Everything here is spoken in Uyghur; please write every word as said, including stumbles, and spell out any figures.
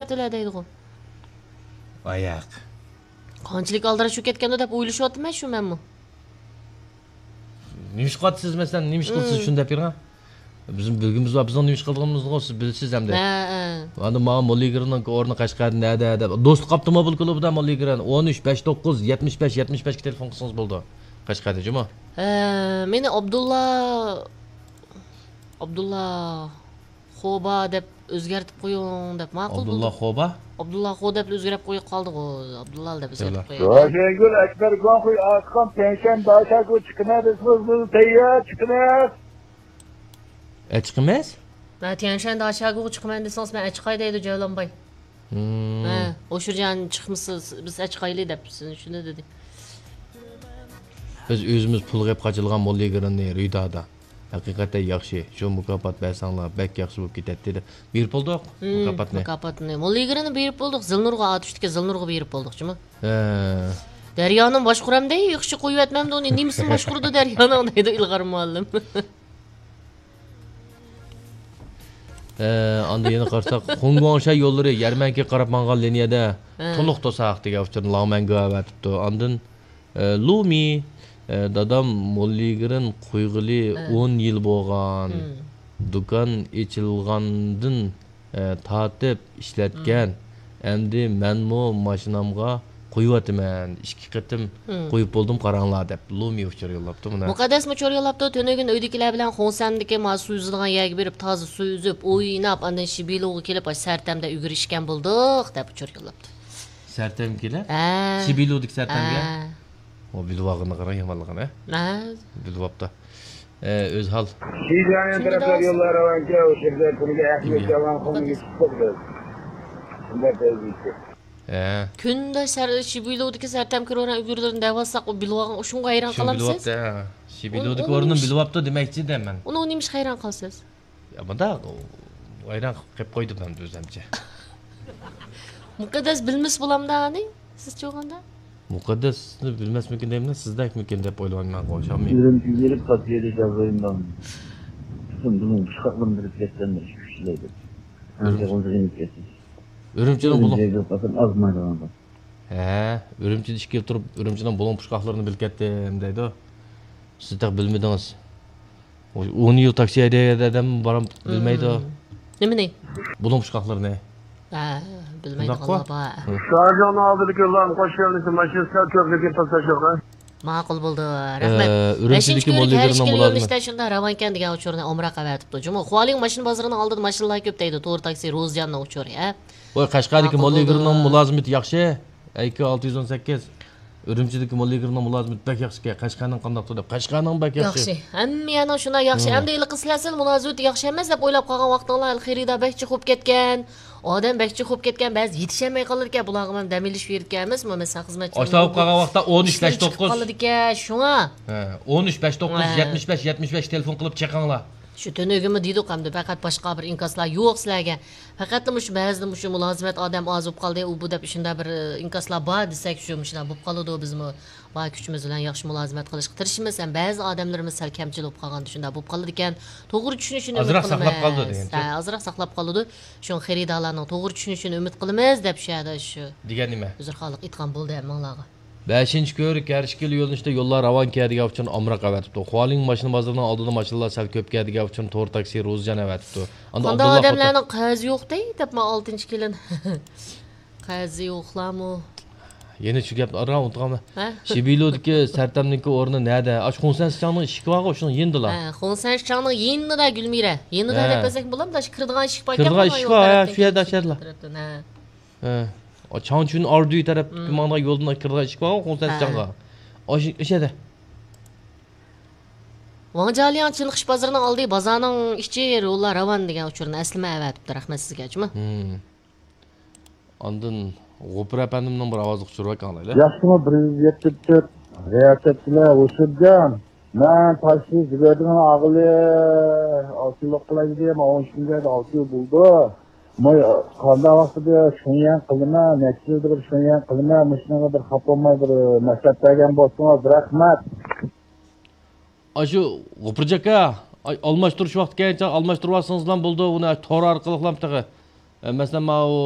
قىپتىلە دەيدىغۇ. ئاياق. قانچىلىك ئالدىراش بولۇپ كەتكەندۇ دەپ ئويلىشىۋاتىمەن شۇ مەنمۇ. نېمىشقا قاتىسىز مەسىلەن، نېمىش قىلسىز مم. شۇنى دەپ بېرىڭ. بىزنىڭ بىلگۈمىز بار، بىزنىڭ نېمىش قىلىدىغىنىمىزنى سىز بىلىسىز ئەمدى. ھە، ھە. ئاندىن ماڭا موللا يىگىرىنىڭ ئورنى قەشقەردە نەدە دەپ. دوستلۇق ئاپتوموبىل كۇلۇبىدا موللا يىگىرىن. ئون ئۈچ، بەش توققۇز، يەتمىش بەش، يەتمىش بەشكە تېلېفون قىلسىڭىز بولىدۇ. قەشقەردە جۇمۇ. ھە، مېنى ئابدۇللا، ئابدۇللا خوبا دەپ ئۆزگەرتىپ قويۇڭ دەپ ماقۇل. ئابدۇللا خوبا؟ ئابدۇللا خو دەپ ئۆزگەرتىپ قويۇپ قالدىغۇ. ئابدۇللا دەپ ئۆزگەرتىپ قويۇڭ. راجەنگۈل ئەكبەر گۇاڭخۇي ئاققان تيەنشەن داشاگۇ چىقىمەن دېسىڭىز، بىز تەييار چىقىمىز. ئەچىقىمىز؟ ھە، تيەنشەن داشاگۇغا چىقىمەن دېسىڭىز، مەن ئەچىقاي دەيدۇ جەۋلانباي. ھە، ھوشۇرجان چىقمىسىز، بىز ئەچىقايلى دەپ شۇنى دېدى. بىز ئۆزىمىز پۇل قىلىپ قاچىلىغان موللا يىگىرىنى رىدادا. ھەقىقەتەن ياخشى، شۇ مۇكاپات بەرسەڭلار بەك ياخشى بولۇپ كېتەتتى دەپ بېرىپ بولدۇق مۇكاپاتنى. مۇكاپاتنى. موللا يىگىرىنى بېرىپ بولدۇق، زىلنۇرغا ئاتۇشتىكى زىلنۇرغا بېرىپ بولدۇق جۇمۇ. ھە. دەريانىڭ باشقۇرامدەي، ياخشى قويۇۋەتمەمدۇ ئۇنى، نېمىسىنى باشقۇرىدۇ دەريانىڭ دەيدۇ ئىلغار مۇئەللىم. ئە، ئاندىن يەنە قارىساق، خۇڭگۇاڭشەي يوللىرى يەرمەنكىگە قاراپ ماڭغان لىنىيەدە ھە. تولۇق توساق دېگەن ئۇچۇرنى لاڭمەنگو ئەۋەتىپتۇ. ئاندىن، ئە، لۇمى، ئە، دادام موللىگرىن قويغىلى ھە. ئون يىل بولغان. ھىم. دۇكان ئېچىلغاندىن، ئە، تارتىپ ئىشلەتكەن. ھىم. ئەمدى مەنمۇ ماشىنامغا قويۇۋاتىمەن. ئىككى قېتىم ھىم. قويۇپ بولدۇم، قاراڭلار، دەپ لۇمى ئۇچۇر يوللاپتۇ مانا. مۇقەددەسمۇ ئۇچۇر يوللاپتۇ. تۈنۈگۈن ئۆيدىكىلەر بىلەن خۇڭسەندىكى ما سۇ يۈزىدىغان يەرگە بېرىپ، تازا سۇ يۈزۈپ، ئويناپ، ئاندىن شىبىلۇغا كېلىپ، ئاشۇ سەرتەمدە ئۆگىرىشكەن بولدۇق، دەپ ئۇچۇر يوللاپتۇ. سەرتەمگە كېلىپ؟ ھە. شىبىلۇدىكى سەرتەمگە؟ ھە. ئۇ بىلىۋالغىنىغا قاراڭ يامانلىقىنى. ھە. بىلىۋاپتۇ. ئە، ئۆزھال. شىجياڭ تەرەپلەر يوللار راۋانكە، ئۆشۈرگە تۈرگە ئەھمىيەت جاۋان قومىگى چىقتۇق بىز. شۇنداق بولدى. ھە. كۈندە سەر-، شىبىلۇدىكى سەرتەم كىروران ئۈگۈرلىرىنى دەۋالساق، ئۇ بىلىۋالغان، شۇنىڭغا ھەيران قالامسىز؟ بىلىۋاپتۇ، ھە. شىبىلۇدىكى ئورنىنى بىلىۋاپتۇ دېمەكچى دەيمەن. ئۇنىڭغا نېمىشقا ھەيران قالىسىز؟ يا، مۇنداق، ۋايران قىلىپ قويدۇم مەن ئۆزۈمچە. مۇقەددەس بىلمىسە بولامدا ئانى، سىزچە بولغاندا؟ مۇقەددەسنى بىلمەسمىكىن دەيمەن، سىزدەكمىكىن دەپ ئويلايمەن، ئوخشامدۇ؟ ئۈرۈمچىگە بېرىپ، قاتىيەدە جازايىمدان. پۈتۈن بۇنىڭ پۇشقاقلىرىنى بېرىپ كەتسەم، ئىككى ئۈچ كىشىلەر دەپ. ئۈرۈمچى. ئۈرۈمچىنىڭ بۇلۇڭ. ئۈرۈمچىگە بېرىپ قالسام، ئازمايدىغان. ھە، ئۈرۈمچىدە ئىككى يىل تۇرۇپ، ئۈرۈمچىنىڭ بۇلۇڭ پۇشقاقلىرىنى بىلىپ كەتتىم دەيدۇ. سىز تېخى بىلمىدىڭىز. ئۇ ئون يىل تاكسى ھەيدەيدىغان ئادەم بارام بىلمەيدۇ. مم. نېمىنى؟ بۇلۇڭ پۇشقاقلىرىنى. ھە، بىلمەيدىغانلار بار. ھە. شارجاڭنىڭ ئالدىدىكى يوللارنى قوش يۆنىلىشى ماشىنىسىدا كۆپ لېكىن توختاش يوق. ماقۇل بولدى. رەھمەت. ئە، ئۈرۈمچىدىكى بەشىنچى كۆۋرۈك ھەر ئىككىلا يۆنىلىشتە شۇنداق راۋانكەن دېگەن ئۇچۇرنى ئومراق ئەۋەتىپتۇ. جۇمۇ، خۇالىڭ ماشىنا بازىرىنىڭ ئالدىدا ماشىنىلار كۆپ دەيدۇ. تور تاكسى روزىياننىڭ ئۇچۇرى، ھە؟ ۋاي، قەشقەردىكى ماقۇل موللا بولدى. يىگىرمىنىڭ مۇلازىمىتى ياخشى. ئەيكى ئالتە يۈز ئون سەككىز. ئۈرۈمچىدىكى موللا يىگىرمىنىڭ مۇلازىمىتى بەك ياخشىكەن. قەشقەرنىڭ قانداقتۇ دەپ. قەشقەرنىڭ بەك ياخشى. ياخشى. ھەممە يەرنىڭ شۇنداق ياخشى. ھە. ئەمدى ھېلىقى سىلەر سەل مۇلازىمىتى ياخشى ئەمەس دەپ ئويلاپ قالغان ۋاقتىڭلار، ھېلى خېرىدار بەك جىق بولۇپ كەتكەن. ئادەم بەك جىق بولۇپ كەتكەن، بەزى يېتىشەلمەي قالىدىكەن. بۇلارغا مەن دەم ئېلىش بېرىدىكەن ئەمەسمۇ؟ مەسىلەن، خىزمەتچى ئاشۇنداق بولۇپ قالغان ۋاقىتتا ئون ئۈچ، بەش توققۇز. قالىدىكەن، شۇڭا. ھە، ئون ئۈچ، بەش توققۇز، ھە. يەتمىش بەش، يەتمىش بەش تېلېفون قىلىپ چېقىڭلار. شۇ تۈنۈگۈنمۇ دېدۇق ئەمدى، پەقەت باشقا بىر ئىنكاسلار يوق سىلەرگە. پەقەتلا مۇشۇ بەزىدە مۇشۇ مۇلازىمەت ئادەم ئاز بولۇپ قالدى، ئۇ بۇ دەپ شۇنداق بىر، ئە، ئىنكاسلار بار دېسەك، شۇ مۇشۇنداق بولۇپ قالىدۇ. بىزمۇ بار كۈچىمىز بىلەن ياخشى مۇلازىمەت قىلىشقا تىرىشىمىز. ھەم بەزى ئادەملىرىمىز سەل كەمچىل بولۇپ قالغاندا شۇنداق بولۇپ قالىدىكەن. توغرا چۈشىنىشىنى ئۈمىد قىلىمىز. ئازراق ساقلاپ قالىدۇ دېگەنچە. ھە، ئازراق ساقلاپ قالىدۇ. شۇڭا خېرىدارلارنىڭ توغرا چۈشىنىشىنى ئۈمىد قىلىمىز دەپ شۇ يەردە شۇ دېگەن نېمە؟ ئۆزرخانلىق ئېيتقان بولدى ھەممىڭلارغا. بەشىنچى كۆۋرۈك ھەر ئىككىلا يۆنىلىشتە يوللار راۋانكەن دېگەن ئۇچۇرنى ئامراق ئەۋەتىپتۇ. خۇالىڭ ماشىنا بازىرىنىڭ ئالدىدا ماشىنىلار سەل كۆپكەن دېگەن ئۇچۇرنى تور تاكسى روزىجان ئەۋەتىپتۇ. ئاندىن قانداق ئابدۇللا ئادەملەرنىڭ قەرزى يوق دەي دەپمۇ ئالتىنچى كېلىن. قەرزى يوقلارمۇ؟ يەنە شۇ گەپنى ئاران ئۇنتۇغانمەن. ھە؟ شىبىلۇدىكى سەرتەمنىڭكى ئورنى نەدە؟ ئاشۇ خۇڭسەن سىچاڭنىڭ ئىشىكى بارغۇ، شۇنىڭ يېنىدىلا. ھە، خۇڭسەن سىچاڭنىڭ يېنىدا، گۈلمىرە. يېنىدا ھە. دەپ بەرسەك بولامدۇ؟ ئاشۇ كىرىدىغان ئىشىك بار ئىكەن، كىرىدىغان ئىشىك بار، ھە، شۇ يەردە، ئاشۇ يەردىلا. تەرەپتىن، ھە. ھە. ئا، چاڭچۈن ئاردۇي تەرەپ مم. ماڭىدىغان يولدىن كىرىدىغان ئىشىك بارغۇ، خۇڭسەن ھە. سىچاڭغا. ئاشۇ، ئاشۇ يەردە. ۋاڭجالياڭ چېنىقىش بازىرىنىڭ ئالدى، بازارنىڭ ئىچى، يوللار راۋان دېگەن ئۇچۇرنى ئەسلىمە ئەۋەتىپتۇ. رەھمەت سىزگە، جۇمۇ. مم. ئاندىن غوپۇر ئەپەندىمنىڭ بىر ئاۋازلىق ئۇچۇرى بار، ئاڭلايلى. ياخشىمۇ، بىر يۈز يەتتە تۆت رىياسەتچىلەر ھوشۇرجان. مەن تاشلىق زىبېردىن ئاغىلى ئالتە يىللىق قىلاي دېدى، مانا ئون ئۈچ كۈنگە ئالتە يىل بولدى. ماي قانداق ۋاقتىدا شۇڭيەن قىلىمەن، نەچچە يىلدا بىر شۇڭيەن قىلىمەن، مۇشۇنىڭغا بىر خاپا بولماي بىر مەسلىھەت بەرگەن بولسىڭىز، رەھمەت. ئاشۇ غوپۇرجاكا، ئاي، ئالماشتۇرۇش ۋاقتى كەلگەنچە ئالماشتۇرۇۋالسىڭىزلا بولىدۇ، ئۇنى تور ئارقىلىقلا تېخى. ئە، مەسىلەن، ماۋۇ